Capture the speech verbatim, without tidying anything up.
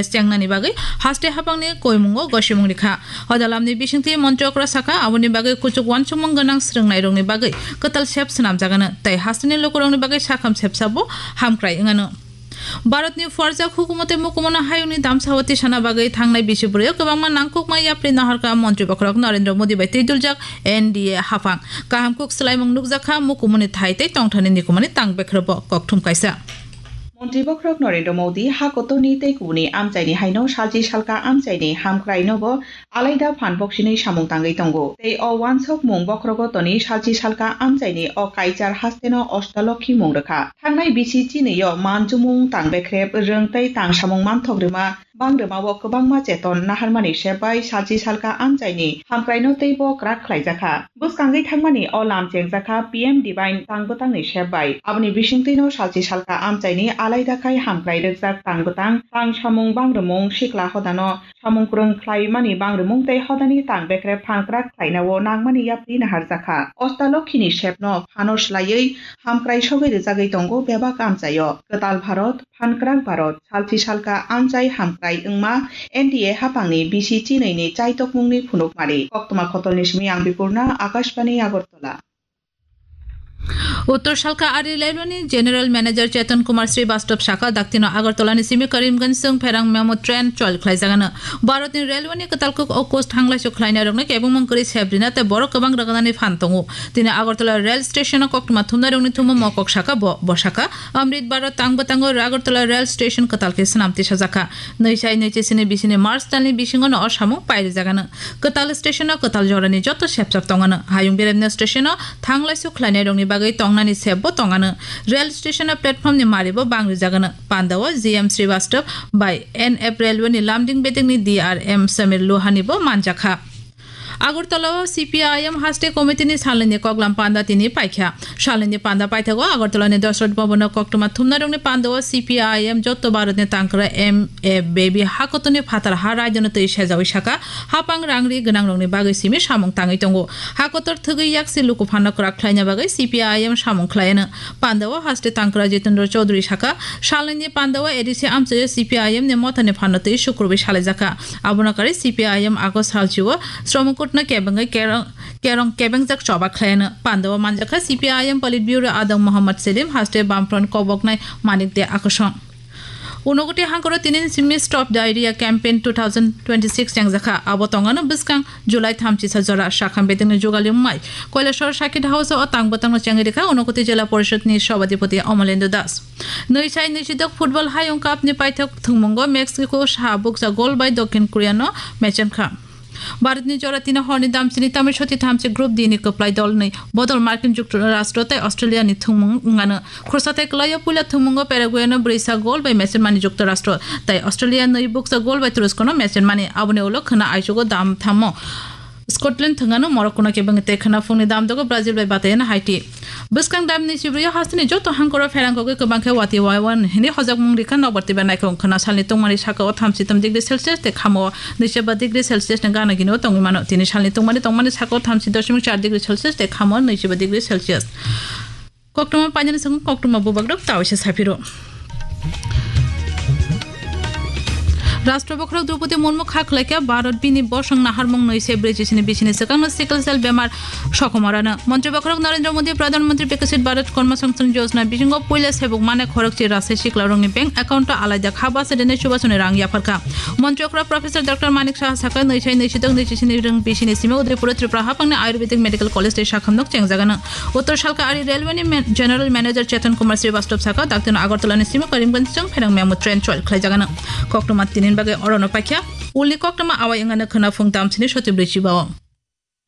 chengnani bagwi haste hapangni koimungo gosimung rikha. Hodalamni bisingtwi montri okra sakha, aboni bagwi kuchuk uansukmung gwnang swrwngnairokni bagwi kwtal sep swnamjagano tei hasteni lukurokni bagwi sakham sepsabo hamkrai wngano. Bharatni phuarjak hukumote mukumono hayungni damsao tisana bagwi thangnai bisi bwrwio kwbangma nangkukma yapri naharkha montri bokhorok Narendra Modi bai twiduljak N D A haphang. Kaham kuk swlaimung nukjakha mukumuni thai tei tongthani nikumani tang bekhrobo kokthum kaisa. Montri bokhorok Narendra Modi ha kotorni tei kubuni amchaini haino salchi salka amchaini hamkrainobo alaida phan boksinwi samung tangwi tongo. Tei o uansukmung bokhorogo toni salchi salka amchaini o kaichar hasteno Ostalokhi mung rwkha. Thangnai bisi chinwi o manjumung tang bekrep rwng tei tang samung manthok rwma bang rwmao kwbangma cheton naharmani sep bai salchi salka amchaini hamkraino teibo kwrak khlaijakha. Bwskangwi thangmani o lam chengjakha P M Divine tang bwtangni sep bai. Aboni bisingtwino salchi salka amchaini alaida khai hamkrai rwkjak tang bwtang, tang samung bang rwmung sikla hodano samung kwrwng khlaimani bang rwmung tei hodani tang bekrep phan kwrak khlainao nangmani yapri naharjakha. Ostalokhini sepno phano swlaiwi hamkrai sogwi rwjagwi tongo bebak amchaio. Kwtal Bharot, phan kwrak Bharot, salchi salka amchai hamkrai wngma N D A haphangni bisi chinwini chaitokmungni phunukmari. Koktwma Kotolni simi ang Bipurna, Akashbani Agartala. Uttor Salka Ari Railway ni General Manager Chetan Kumar Srivastava sakha, daktino Agartala ni simi Karimganj song pherang memo train chol khlaijagano. Bharat ni railway ni kwtal kuk o coach thanglaisu khlainai rokno kebengmung kwrwi sebrina tei borok kwbang rwgwnani phan tongo. Tini Agartala rail station o koktwma thumnai rokni thumo mokok sakha bo, bo sakha Amrit Bharat tang bwtango Agartala rail station kwtal khe swnam tisajakha. Nwi sai nwi chisini bisini March talni bisingono o samung pairijagano. Kwtal station o kwtal jorani joto sepsap tongano. Hayung beremno station o thanglaisu khlainairokni bagwi tongnani sepbo tongano. Rail station o platform ni maribo bangrijagano. Pandao G M Srivastava bai N F Railway ni lamding bedekni D R M Samir Lohani bo manjakha. Agartala o C P I M haste committee ni salnwini koklam panda tini paikha. Salnwini panda paithago Agartala ni Dasrat Bhavan o koktwma thumnairokni panda o C P I M joto Bharat ni tangkra M A Baby hakotoni phatar ha raidano twi sejawi saka, hapang rangri gwnangrokni bagwi simi samung tangwi tongo. Hakotor thwgwi yaksi luku phano kwrak khlaina bagwi C P I M samung khlaiano. Panda o haste tangkra Jitendra Chaudhary saka, salnwini panda o A D C amchaio C P I M ni mothani phano twi sukurwi salaijakha. Abono karwi C P I M August salchio Sromokutno kebengwi kerong, kerong kebengjak choba khlaino. Pandao manjakha C P I M Politburo Adong Mohammad Selim, haste Bamfront koboknai Manik De Akosong. Unokoti hangkoro tinin simi Stop Diarrhea Campaign two thousand twenty-six chengjakha. Abo tongano bwskang July thamchisa jora sakham bedengni jugali wngmai Koilashahar Circuit House o tang bwtangno chengwi rikha Unokoti Jila Porishod ni Sabhadipati Amalendra Das. Nwi sai nwi sidok Football Hayung Cup ni paithak thwngmungo Mexico saha bukcha gol bai Dokhin Korea no mechem kha. Bharat ni jora tini horni damchini tamni soti thamchi Group D ni kwplai dol ni bodol Markin Juktharashtra tei Australia ni thwngmung wngano. Khursa tei kwlaio puila thwngmungo Paraguay no brwisa gol bai mechem mani Juktharashtra tei Australia nwi bukcha gol bai Turusko no mechem mani. Aboni ulo khwna aichugo dam thammo Scotland thwngano Morocco no kebengwi tei khwna phungni damdogo Brazil bai batayano Haiti. Bwskang damni sibrio hasteni joto hangkoro pherang kogwi kwbang khe wati waiwan hwnwi hojakmung rikha nokbar twiba naikhung khwna salni tongmani sakao thamchi tom degree Celsius tei khamo nwichiba degree Celsius ni gana gini o tongwi mano. Tini salni tongmani tongmani sakao thamchi doshimik char degree Celsius tei khamo nwichiba degree Celsius. Koktwma painani song koktwma bubagrok tawisa saphiro. Rashtra bokhorok Droupadi Murmu kha khlaikha Bharat bini bosong naharmung nwi se brwi chisini bisini swkangno sickle cell bemar sokomorano. Montri bokhorok Narendra Modi Pradhan Mantri Viksit Bharat Karma Sansthan Yojana bisingo puila sebuk mane khorokchi rasai siklairokni bank account o alaida kha basa dene chubasoni rang yapharkha. Montri okra Professor Doctor Manik Saha sakha nwi sai nwi sidok nwi chisini rwng bisini simi Udaipur o Tripura hapangni Ayurvedic Medical College tei sakhamnok chengjagano. Uttor Salka Ari Railway ni man-, General Manager Chetan Kumar Srivastava sakha, daktino Agartala ni simi Karimganj chwng pherang memo train chol khlaijagano. Koktwma tinin bagwi orono paikha. Ulni koktwma awai wngano khwna phung damsini soti brwi chibao.